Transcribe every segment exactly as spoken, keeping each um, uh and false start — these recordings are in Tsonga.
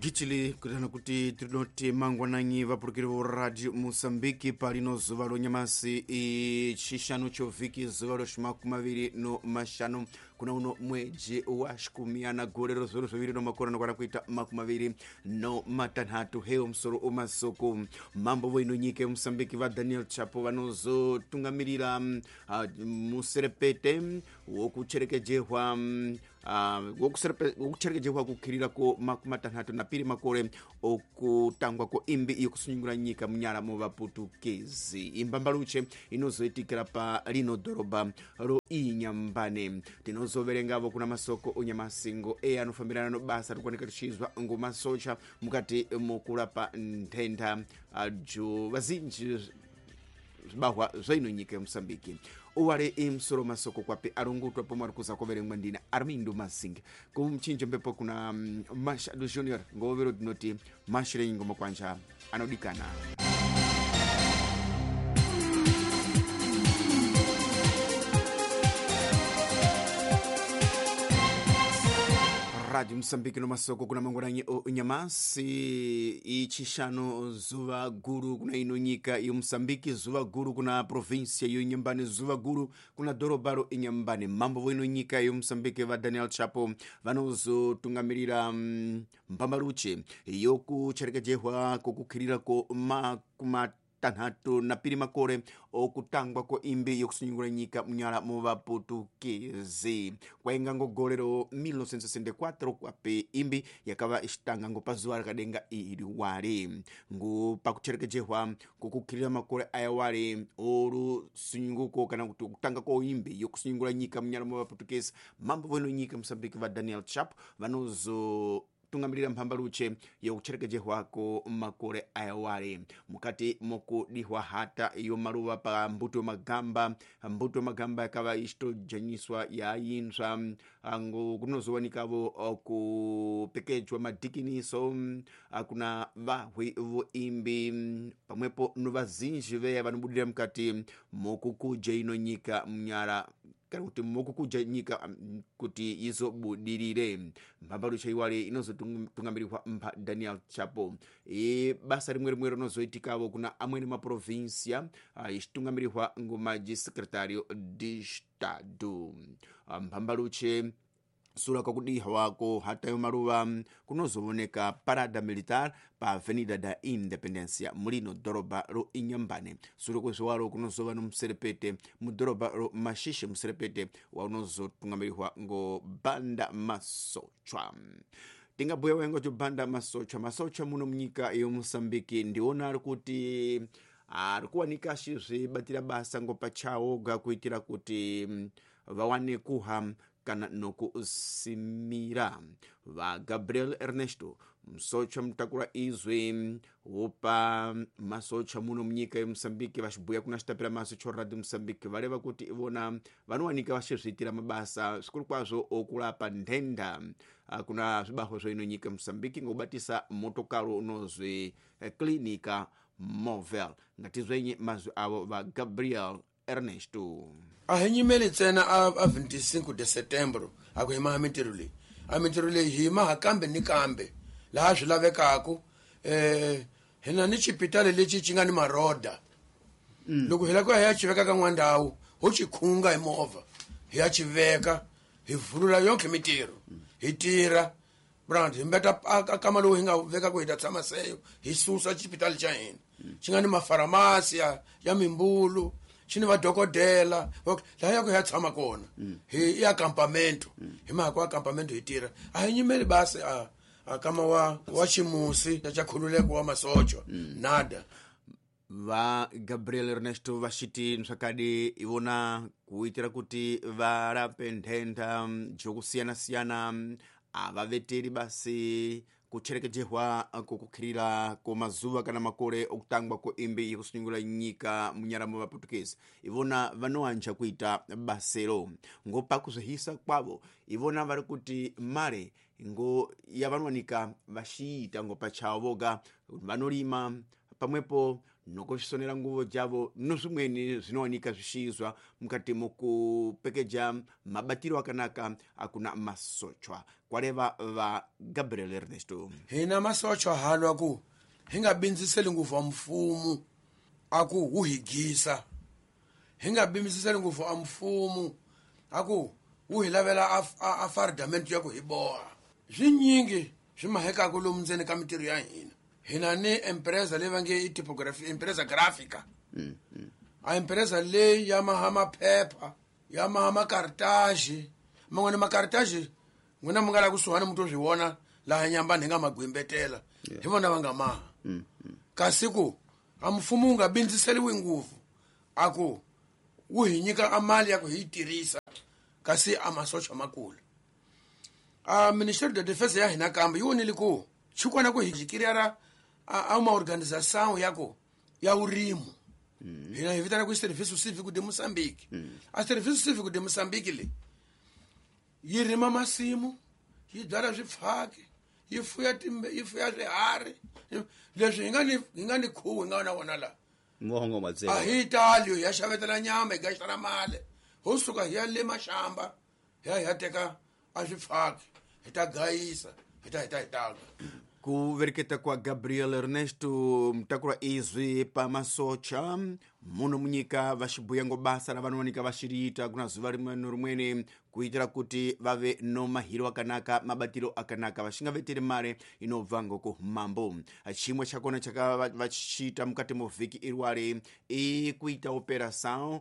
Gitili kutana kuti tinoti mangwananyi vapurukiri vo Radio Mosambiki palino zuva lonyamasi icixanu chovhiki zuva loximakumi maviri no maxanu kuna uno mweji wa xikumiana gore ro zviuru zviviri no makore anokwana kuita makumi maviri no matanhatu. Heyo musoro omasoko mambo voino nyika yeMosambiki va Daniel Chapo vanozotungamirira uh, muserepete wokucherekejehwa uh, wokucherekejehwa kukhirira ko makumi matanhatu na piri makore okutangwa ko imbi yokusunungura nyika munyara mo vaputukezi. Imbambaluche inozoitikira pa lino dhorobha ro Inyambane. Tinozoverengavo kuna masoko onyamasingo e anofambirana no basa rikuoneka richizwa ngomasocha mukati mokurapa nthenda jo vazinji zvibahwa zvaino nyika yeMosambiki. Uwale imsoro masoko kwape arungutwa pomwe ari kuza kuverengwa ndina Armindo Masinga. Kumchinjo mbepo kuna Machado Junior ngovero tinoti mashirenyi ngoma kwanja anodikana. Radio Mosambiki no masoko kuna mangwananyi o nyamasi ichishanu zuva guru kuna ino nyika yo Mosambiki, zuva guru kuna provincia yo Inhambane, zuva guru kuna dhorobha ro Inhambane. Mambo vo ino nyika yo Mosambiki va Daniel Chapo vanozotungamirira mbambaluche yokucherekejehwa kokukhirira ko makumi tanhatu na piri makore okutangwa ko imbi yokusunungura nyika munyara mu vaputukezi. Kwainga ngo gore ro mil novecentos e sessenta e quatro kwape imbi yakava ixitanga ngo pazuva rakadenga iri wari ngo pakucherekejehwa kokukhirira makore aya wari orusununguko kana kuti kutanga ko imbi yokusunungura nyika munyara mu vaputukezi. Mambo voino nyika Mosambiki va Daniel Chapo vanozo tungamirira mphambaluche yokucherekejehwa ko makore ayawale mukati mokudihwa hata iyo maluva pa mbuto yomagamba. Mbuto yomagamba yakava ichitojanyiswa yayinzva ngo kunozowanikavo kupekejwa madhikiniso kuna vahwi voimbi pamwepo no vazinji veya vanobudira mukati mokukuja ino nyika munyara kana kuti mokukuja nyika kuti izobudirire. Mbambaluche iwale inozotungamirihwa mpa Daniel Chapo. E basa rimwe rimwe rinozoitikavo kuna amweni maprovinsia ichitungamirihwa ngomaji secretario de Estado. Mbambaluche sura kwakudiha ko hata yo maluva kunozooneka parada militar pa Avenida da Independencia mulino dhorobha ro Inhambane. Sura kwezvowaro kunozova no muserepete mudhorobha ro Mashishe, muserepete waunozotungamirihwa ngo banda masochwa. Tingabhuya wengo cho banda masochwa masochwa muno munyika yoMosambiki ndiona ari kuti ari kuwanika achizvibatira basa ngo pachawoga kuitira kuti vawane kuha kana nokusimira. Va Gabriel Ernesto musocha mutakura izwi wopa masocha muno munyika yeMosambiki vachibhuya kuna chitapira maso cho Radio Mosambiki vareva kuti ivona vanowanika vachizviitira mabasa zvikuru kwazvo okurapa nthenda kuna zvibahwa zveino nyika yeMosambiki ngokubatisa motokaro unozwi Clinica Móvel. Ngatizwenye mazwi avo va Gabriel Ernesto. A hi nyimeli ntsena a vinte e cinco de setembro a ku hima mintirho leyi. A mintirho leyi hi hima kambe ni kambe laha swi lavekaka. Eh hina ni xipitali lexi xi nga ni maroda. Loko hi lava ku ya hi ya xi veka ka n'wa ndhawu ho xi khunga hi movha hi ya xi veka hi vulula yonke mintirho hi tirha brand hi mbeta a kama lowu hi nga veka ku hi ta tshama seyo hi susa xipitali xa hina xi nga ni mafaramasi ya ya mimbulu xi ni vadokodela laha ya ku ya tshama kona hi ya acampamento hi mhaka wa acampamento hi tirha. A hi nyimeli basi a a kama wa wa ximusi xa khululeko wa masocha nada. Va Gabriel Ernesto vachiti zvakadi ivona kuitira kuti varape nthenda jokusiyana-siyana avaveteri basi kucherekejehwa kokukhirira ko mazuva kana makore okutangwa ko imbi yekusunungura nyika munyara mo vaputukezi. Ivona vanoanja kuita basero ngo pakuzvihisa kwavo ivona vari kuti mare ngo yavanowanika vachiita ngo pachavo voga vanorima pamwepo nokusvisonera nguvo javo nozvimweni zvinowanika zvichiizwa mukati mokupekeja mabatiro akanaka akuna masochwa kwareva va Gabriel Ernesto. Hina masochwa halwa ku hi nga bindziseli ngopfu a mfumo a ku wu hi gisa, hi nga bindziseli ngopfu a mfumo a ku wu hi lavela a fardamento ya ku hi boha. Swinyingi swi mahekaka lomu ndzeni ka mintirho ya hina. Hina ni empresa leyi va nge i typography, empresa gráfica. Mm, mm. A empresa leyi ya maha maphepha, ya maha makartaji, man'wana makartaji n'wina mi nga la kusuhani mi to swi vona laha Nyambani hi nga magwimbetela, hi vona va nga maha. Mm, mm. Kasi ku a mfumo wu nga bindziseliwi ngopfu a ku wu hi nyika a mali ya ku hi yi tirhisa, kasi a masocha makulu. A Ministério da Defesa ya hina kambe yi vonile ku xikwana ku hi jikiriara a uma organização ya ku ya urimo. Hina hi vitana ku Serviço Cívico de Moçambique. A Serviço Cívico de Moçambique le yi rima masimu, yi byala swifaki, yi fuya timbe, yi fuya swiharhi. Leswi hi nga ni hi nga ni khuwu hi nga na wona la. Muhongo matsela. A hi tali hi ya xavetela nyama, hi gaxela mali. Ho suka hi ya le mashamba, hi ya hi ya teka a swifaki, hi ta gayisa, hi ta hi ta hi ta. Kuvereketa kwa Gabriel Ernesto mutakura izwi pamasocha muno munyika vaxibuya ngo basa ra vanowanika vaxiriita kuna zuva rimwe no rimweni kuitira kuti vave no mahiro akanaka mabatiro akanaka vaxingaveteri mare inobva ngoko mambo. Chimwe chakona chaka vachiita mukati movhiki irwari ikuita operação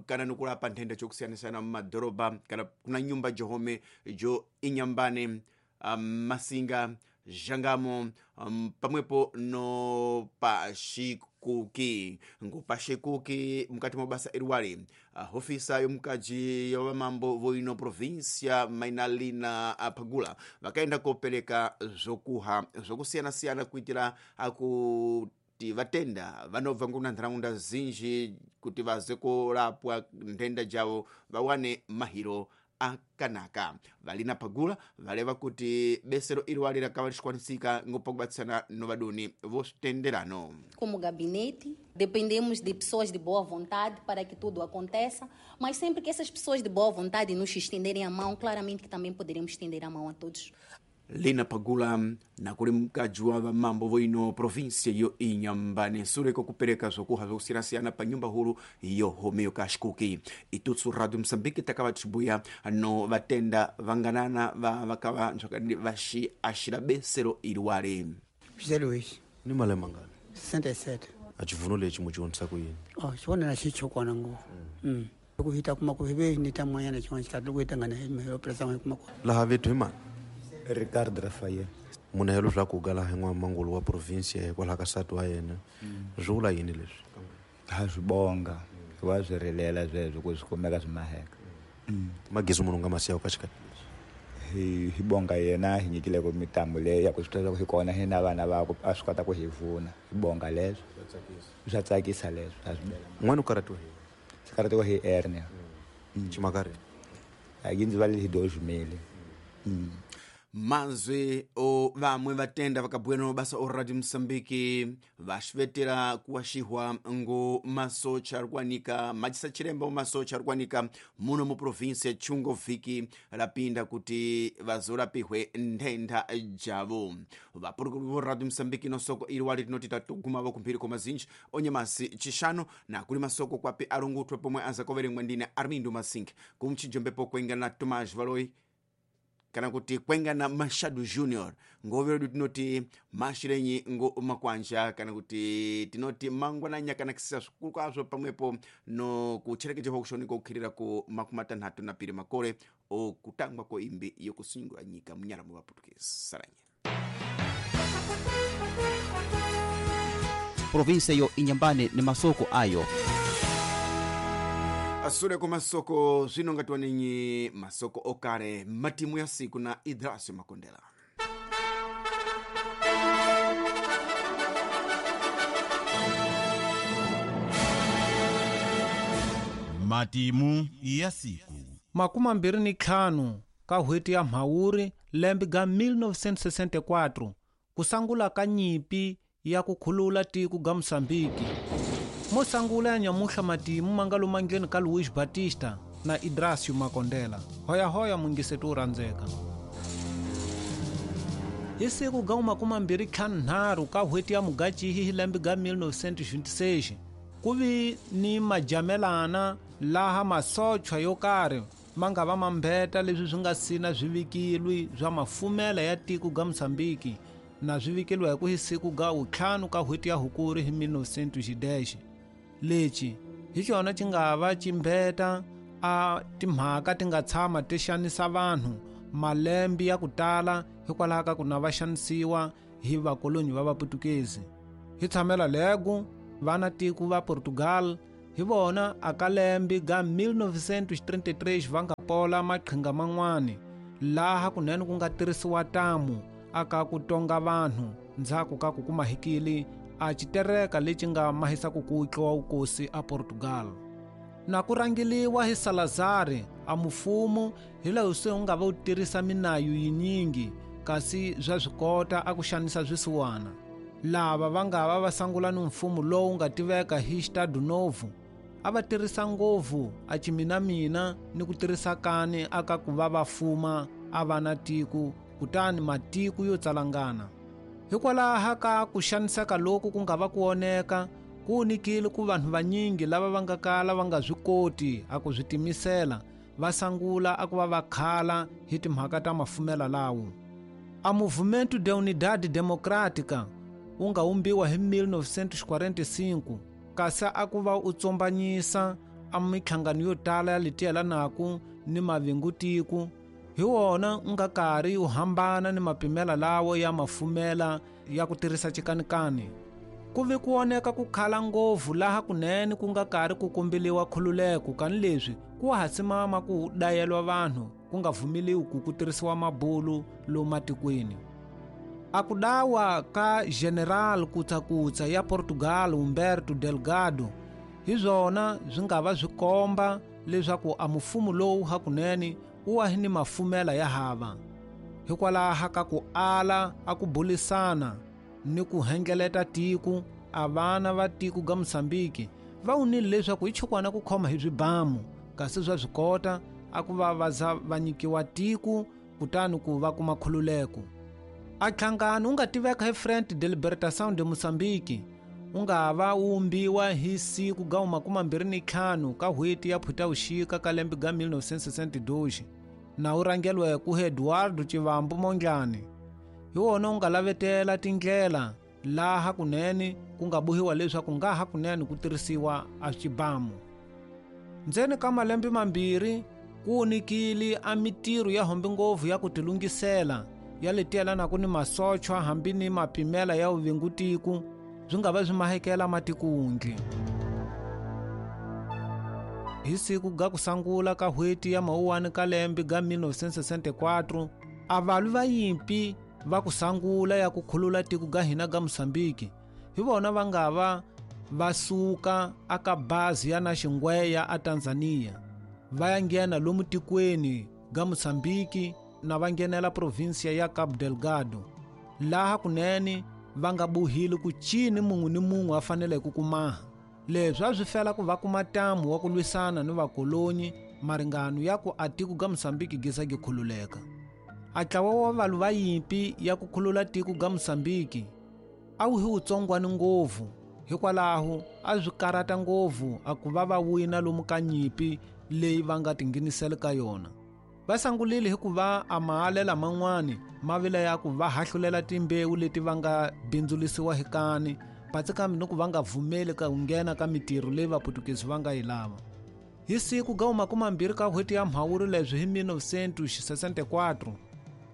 kana nokurapa nthenda jokusiyana-siyana mumadhorobha kana kuna nyumba johome jo Inyambane, um, Masinga, Jangamo, um, pamwepo no Pashikuki. Ngo Pashikuki mukati mwa basa irwari uh, hofisa yomukaji ya vamambo voino província Mainalina Pagula vakaenda kopereka zvokuha zvokusiyana-siyana kuitira aku kuti vatenda vanobva nguna nharaunda zinji kuti vaze korapwa nthenda javo vawane mahiro akanaka. Valina Pagula valeva kuti besero irwari rakava richikwanisika ngopakubatsirana novadoni vositenderano. Como gabinete, dependemos de pessoas de boa vontade para que tudo aconteça, mas sempre que essas pessoas de boa vontade nos estenderem a mão, claramente que também poderemos estender a mão a todos. Lina Pagula nakuli mukadzi wa vamambo voino província yo Inhambane sure kokupereka zvokuha zvokusiyana-siyana pa nyumba huru yohomeyo Kashikuki. Itutsu Radio Moçambique takava tichibuya no vatenda vanganana va vakava nzvakadi vaxi axira besero iriwari. José Luís. Ni malembe mangani? sessenta e sete. A xivuno lexi mu xi ku yini? Oh, xivona na xichokwana ngopfu. Mm. Ku hita kuma ku hive ni ta moyana xin'wana xikati loko hi tangana hi mhelo presa n'we kuma ku. Laha vethu hi mani? Ricardo Rafael. Munhu helo swa ku gala hi n'wamangulu wa province hikwalaho ka nsati wa yena. Swi vula yini leswi? Ha swi bonga, wa swi rilela sweswo ku swi kumeka swi maheka. Magezi munhu nga masiya ka xikati lexi. Hi hi bonga yena hi nyikile ku mitambo leyi ya ku swi tiva ku hi kona hina vana va ku a swi kota ku hi vuna. Hi bonga leswo. Swa tsakisa leswo, a swi bela. N'wana u karhatiwa hi? Swi karhatiwa hi hernia. Ximakari? A yi ndzi vale hi dois mil. Mazwi o vamwe vatenda vakabuya no basa o Radio Moçambique vaxivetera kuwaxihwa ngo masocha ari kuwanika majisa chiremba masocha ari kuwanika muno mu província Chungo vhiki rapinda kuti vazorapihwe nthenda javo. Vapurukuru vo Radio Moçambique no soko iri wali tinoti tatogumavo kumphiri kwa mazinji onyamasi chixano na kuli masoko kwapi arungutwe pomwe azakoverengwa ndine Armindo Masink kumchijombepo kwenga na Tomás Valoi kana kuti kwenga na Machado Junior ngoveredu tinoti mashirenyi ngo makwanja kana kuti tinoti mangwananya kana kisisa zvikuru kwazvo pamwepo no kucherekejewa kushoneka kukhirira ku makumi matanhatu na piri makore okutangwa ko imbi yokusunungura nyika munyara mu vaputukezi saranye. Província yo Inhambane ni masoko ayo. Asule kwa masoko zvino ngatiwanenyi masoko okare matimu ya siku na Idrasio Makondela. Matimu ya siku. Makumi mambirhi ni ntlhanu ka n'hweti ya Mhawuri lembe ga mil novecentos e sessenta e quatro kusangula ka nyimpi ya ku khulula tiko ga Mosambiki. Mo sangula ya nyamuhla matimu mangalo mangeni ka Luís Batista na Idrasio Makondela. Hoya hoya mungisetu randzeka. Hi siku ga makumi mbirhi ntlhanu nharhu ka n'hweti ya Mugachihi hi lembe ga mil novecentos e vinte e seis ku vi ni majamelana laha masochwa yo karhi ma nga va mambeta leswi swi nga sina swivikilwi swa mafumela ya tiko ga Mosambiki na swivikilwa hi ku hi siku ga ntlhanu ka n'hweti ya Hukuri hi mil novecentos e dez. Lexi hi xona xi nga va ximbeta a timhaka ti nga tshama ti xanisa vanhu malembe ya ku tala hikwalaho ka ku na va xanisiwa hi vakolonyi va Vaputukezi. Hi tshamela lego vana tiko va Portugal hi vona aka lembe ga mil novecentos e trinta e três va nga pola maqhinga man'wani laha kunene ku nga tirhisiwa tamu aka ku tonga vanhu ndzhaku ka ku kuma hikili a xitereka lexi nga mahisa ku kutliwa vukosi a Portugal. Na ku rangeliwa hi Salazar a mufumo hi laha se u nga va u tirhisa minayu yinyingi kasi swa swi kota a ku xanisa swisiwana. Lava va nga va va sangula ni mfumo lowu nga tiveka hi Estado Novo a va tirhisa ngopfu a chiminamina ni ku tirhisa kani aka ku va va fuma a va na tiko kutani matiko yo tsalangana. Hikwalaho ka ku xaniseka loku ku nga va ku oneka ku nikile ku vanhu vanyingi lava va nga kala va nga swi koti a ku swi timisela va sangula a ku va va khala hi timhaka ta mafumela lawo. A Movimento de Unidade Democrática wu nga umbiwa hi mil novecentos e quarenta e cinco kasi a ku va u tsombanyisa a minhlangano yo tala ya leti yelanaka ni mavingutiko hi wona u nga karhi u hambana ni mapimela lawo ya mafumela ya ku tirhisa chikanikani. Ku vi ku oneka ku khala ngopfu laha kunene ku nga karhi ku kombeliwa khululeko kani leswi ku ha simama ku dayelwa vanhu ku nga vumeliwi ku ku tirhisiwa mabulu lomu matikweni. A ku dawa ka General Kutsakutsa ya Portugal Humberto Delgado hi swona swi nga va swi komba leswaku a mufumo lowu hakunene wu wa hi ni mafumela ya hava hikwalaho ka ku ala a ku bulisana ni ku hengeleta tiko a vana va tiko ga Mosambiki va wunile leswaku hi chukwana ku khoma hi swibamu kasi swa swi kota a ku va va za va nyikiwa tiko kutani ku va kuma khululeko. A nhlangano wu nga tiveka hi Frente de Libertação de Moçambique wu nga va wu umbiwa hi siku ga makumi mbirhi ni ntlhanu ka n'hweti ya Phutavuxika ka lembe ga mil novecentos e sessenta e dois na wu rhangeriwe ku Eduardo Chivambo Mondlane. Hi wona wu nga lavetela tindlela laha kunene ku nga bohiwa leswaku nga ha kunene ku tirhisiwa a xibamu. Ndzeni ka malembe mambirhi ku nikile a mitirho ya hombe ngopfu ya ku tilungisela ya leti yelanaka ni masochwa hambi ni mapimela ya vuvingutiko swi nga va swi mahekela matikundli. Hi siku ga ku sangula ka n'hweti ya Mawuwani ka lembe ga mil novecentos e sessenta e quatro a valwi va yimpi va ku sangula ya ku khulula tiko ga hina ga Mosambiki hi vona va nga va va suka aka bazi ya na Xingweya a Tanzania va ya nghena lomu tikweni ga Mosambiki na va nghenela provinsia ya Cabo Delgado laha kunene va nga bohile ku cini mun'we ni mun'we a fanele ku kumaha. Leswi a swi fela ku va kuma ntamu wa ku lwisana ni vakolonyi maringano ya ku a tiko ga Mosambiki gisa gi khululeka. A ntlawa wa valwi va yimpi ya ku khulula tiko ga Mosambiki a wu hi wutsongwani ngopfu hikwalaho a swi karata ngopfu a ku va va wina lomu ka nyimpi leyi va nga tinghenisela ka yona. Va sangulile hikuva a mahalela man'wani ma vila ya ku va hahlulela timbewu leti va nga bindzulisiwa hi kani patsi kambe ni ku va nga vumeli ka ku nghena ka mitirho leyi Vaputukezi va nga yi lava. Hi siku ga makumi mbirhi ka n'hweti ya Mhawuri leswi hi mil novecentos e sessenta e quatro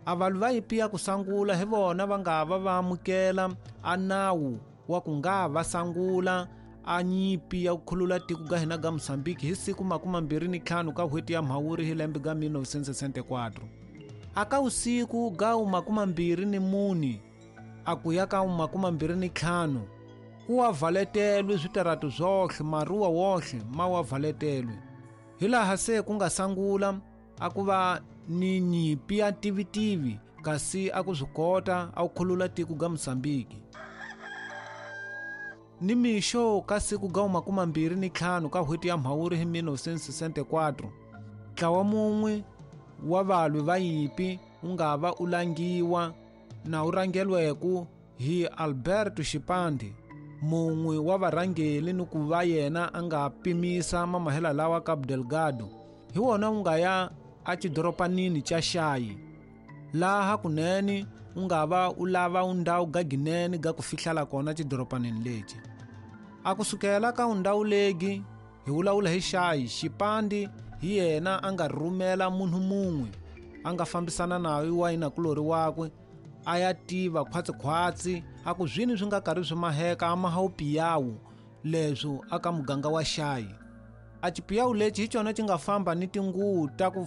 a valwi va yimpi ya ku sangula hi vona va nga va va amukela a nawu wa ku nga va sangula a nyimpi ya ku khulula tiko ga hina ga Mosambiki hi siku makumi mbirhi ni ntlhanu ka n'hweti ya Mhawuri hi lembe ga mil novecentos e sessenta e quatro. Aka usiku ga makumi mbirhi ni mune a ku ya ka makumi mbirhi ni ntlhanu ku wa valetelwe switaratu swohle maruwa wohle ma wa valetelwe hilaha se ku nga sangula a ku va ni nyimpi ya tivitivi kasi a ku swi kota a ku khulula tiko ga Mosambiki. Ni mixo ka siku ga makumi mbirhi ni ntlhanu ka n'hweti ya Mhawuri hi mille novecentos e sessenta e quatro, ntlawa mun'we wa valwi va nyimpi wu nga va u langiwa na wu rhangelweku hi Alberto Xipande, mun'we wa varhangeli ni ku va yena a nga pimisa mamahela lawa Cabo Delgado. Hi wona wu nga ya exidoropanini xa Xayi, laha kunene wu nga va u lava undhawu ga ginene ga ku fihlela kona xidoropanini lexi. A kusukela ka undhawu legi hi vulavula hi Xayi, Xipande hi yena a nga rhumela munhu mun'we a nga fambisana naye wa yinakulori wakwe a ya tiva khwatsikhwatsi a ku zwini swi nga karhi swi maheka a maha upiyawu leswo aka muganga wa Xayi. A xipiyawu lexi hi xona xi nga famba ni tinguvu ta ku